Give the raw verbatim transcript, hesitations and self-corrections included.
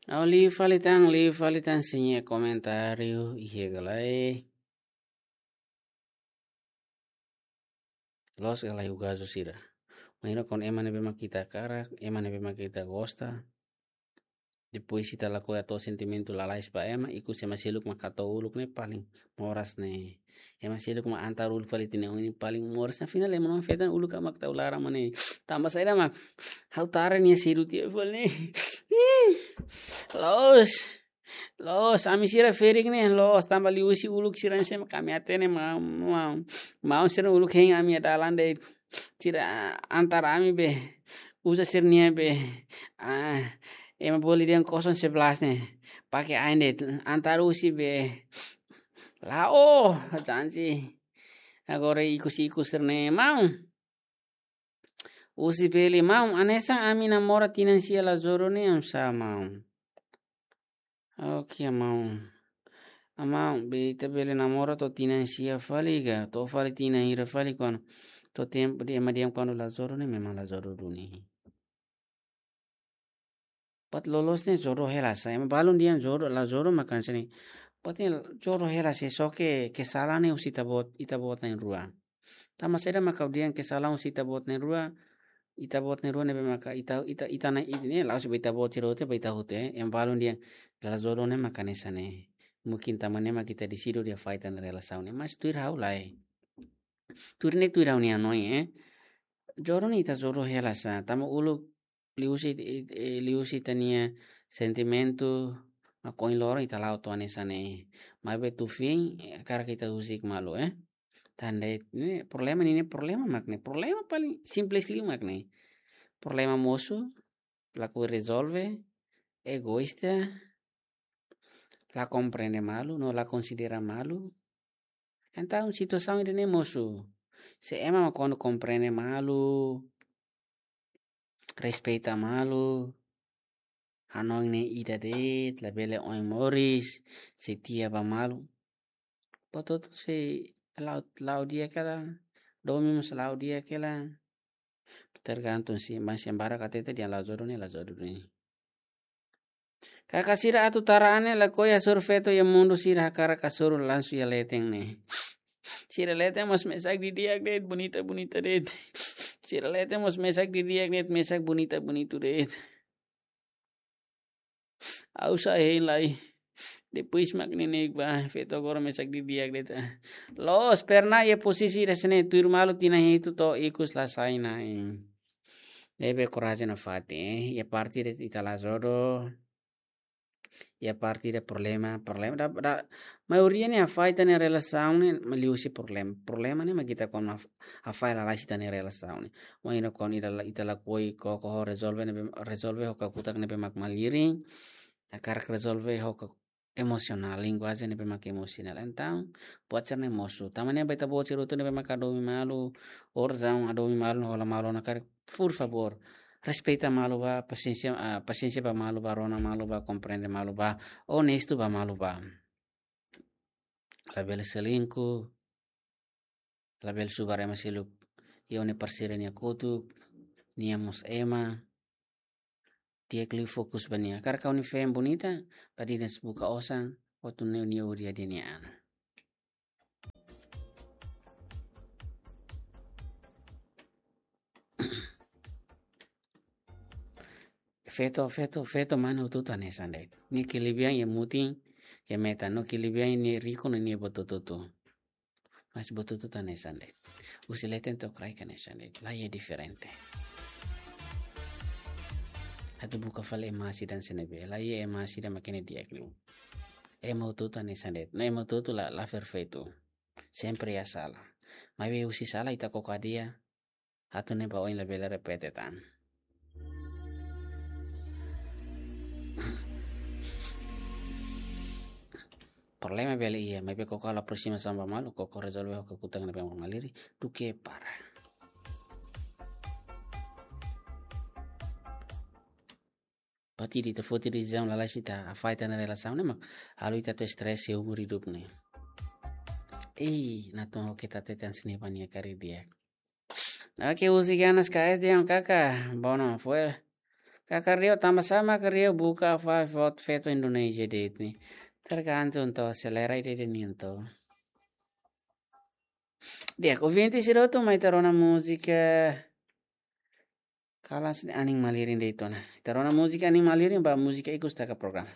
Ó liu fali tan, liu fali tan, sente komentáriu, iha galai. Loos ka lae, husu sira. Imajina kuandu ema ne'ebé mak ita hakarak, ema ne'ebé mak ita gosta. Depois ita lakohi hato'o sentimentu lalais ba ema, ikus ema seluk mak hato'o uluk ne'e paling moras ne'e. Ema seluk mak antar uluk fali tinan oin ne'e paling moras. Afinál ema na'in-feton uluk mak tau laran mak ne'e. Tanba saida mak ha'u tara nia seidauk tiha fali ne'e. Ih, loos. Loos, ami sira ferik ne'e, loos, tanba liuhusi uluk sira-ne'e mak ami hatene maun, maun, maun sira uluk hein ami iha dalan de'it. Sira antar ami be, uza sira-nia be, ah, ema bolu dehan kosong sebelas ne'e, pake ain de'it, antar husi be. La'o, janji. Agora ikus-ikus sira-ne'e, maun. Husi bele maun, hanesan ami namora tinan sia la jodoh ne'e oinsá maun. Oke, maun. Maun, be ita bele namora to'o tinan sia fali ka, to'o fali tinan hira fali kuandu, to'o tempu ema dehan kuandu la jodoh ne'e memang la jodoh duni. Buat loloos ne'e jodoh hela sá, ema balun dehan jodoh, la jodoh mak hanesan ne'e. Buat ne'e jodoh hela sá, só ke kesalahan ne'e husi ita-boot, ita-boot na'in-rua. Tanba saida mak ha'u dehan kesalahan husi ita-boot na'in-rua, ita-boot na'in-rua ne'ebé maka ita, ita, ita-nia, ita ne'e la'ós ba ita-boot sira hotu, ba ita hotu, eh. Ema balun dehan la jodoh ne'e mak hanesan ne'e. Mungkin tanba ne'e mak ita desidiu hela fali tan relasaun ne'e, mas tuir ha'u lae. Tuir ne'e tuir ha'u-nia hanoin, eh. Jodoh ne'e ita jodoh hela sá, tanba uluk liuhusi, eh, liuhusi ita-nia sentimentu, mak ohin loron ita la'o to'o hanesan ne'e. Maibé tuir feen, eh, hakarak ita husik malu, eh. Tan de'it, ne'e problema ne'e, ne'e problema mak ne'e. Problema paling simples liu mak ne'e. Problema mosu, lakohi rezolve, egoísta, la komprende malu, no la konsidera malu. Entaun situasaun ida-ne'e mosu. Se ema mak kuandu komprende malu, respeita malu, hanoin ne'e ida de'it, labele oin moris, setia ba malu. Buat hotu sei la'o, la'o di'ak ka lae, domin mós la'o di'ak ka lae. Tergantung sih, mas yang barak kata itu dia la jodoh ne'e, la jodoh ne'e. Kaka sira atu tara an ne'e lakohi hasoru feto iha mundu, sira hakarak hasoru langsung iha leten ne'e. Sira leten mós mesak didi'ak de'it, bonita-bonita de'it. Sira leten mós mesak didi'ak de'it, mesak bonita-bonita de'it. Ha'u sa'e hein lai. Depois mak ne'e ne'e ba, feto agora mesak didi'ak de'it. Loos, pernah iha posisi ida hanesan ne'e, tuir malu tinan hitu to'o ikus la sai na'in. Ne'ebé korajen nafatin, eh. Iha parte de'it ita la jodoh. Iha parte ida problema, problema da, da, maioria ne'e hafahe ita-nia relasaun ne'e, mak liuhusi problema. Problema ne'e mak ita kuandu haf-, hafahe lalais ita-nia relasaun ne'e. Imajina kuandu ita la, ita lakohi koko ho rezolve ne'ebé, rezolve ho kakutak ne'ebé mak malirin. Hakarak rezolve ho ka-, emosionál, linguajen ne'ebé mak emosionál. Entaun, buat sira-ne'e mosu. Tanba ne'e ba ita-boot sira hotu ne'ebé mak hadomi malu, orasaun hadomi malu, hola malu ona karik, por favór, respeita malu ba, pasiénsia, ah, pasiénsia ba malu ba, rona malu ba, komprende malu ba, onestu ba malu ba. Labele selingkuh, labele subar ema seluk iha ó-nia parseiru nia kotuk, nia mós ema. Di'ak liu fokus ba nia. Hakarak ha'u-nia feen bonita, ba dinas buka osan, hotu ne'e nia hodi hadi'a nia an. Feto, feto, feto mane hotu-hotu hanesan de'it. Nia kelebihan iha mutin, iha metan, no kelebihan nia riku no nia buat hotu-hotu. Mas buat hotu-hotu hanesan de'it. Husi leten to'o kraik hanesan de'it. La iha diferente. Atu buka fali ema sira hanesan ne'ebé. La iha ema sira mak ne'e di'ak liu. Ema hotu-hotu hanesan de'it. No ema hotu-hotu la, la perfeitu. Sempre iha sala. Maibé husi sala ita koko hadi'a. Atu ne'e ba oin labele repete tan. Problema bele iha, maibé koko halo aproximasaun ba malu, koko rezolve ho kakutak ne'ebé mak malirin, duké para. Buat ida ita foti desizaun lalais ita hafahe ita-nia relasaun ne'e mak halo ita atu estrés iha umur hidup ne'e. Ei, natoon ho keta tetan sini pania kari dia. Oke, husi Ganas K S dehan kaka, bono, fue. Ka karreu tama sama karreu buka fa fot feto Indonesia de'it ne'e. Tergantung to selera ida-idak nian to. Di'ak, ouvinte sira hotu mai ita rona múzika. Kalas ne'e anin malirin de'it ona. Ita rona múzika anin malirin ba múzika ikus taka programa.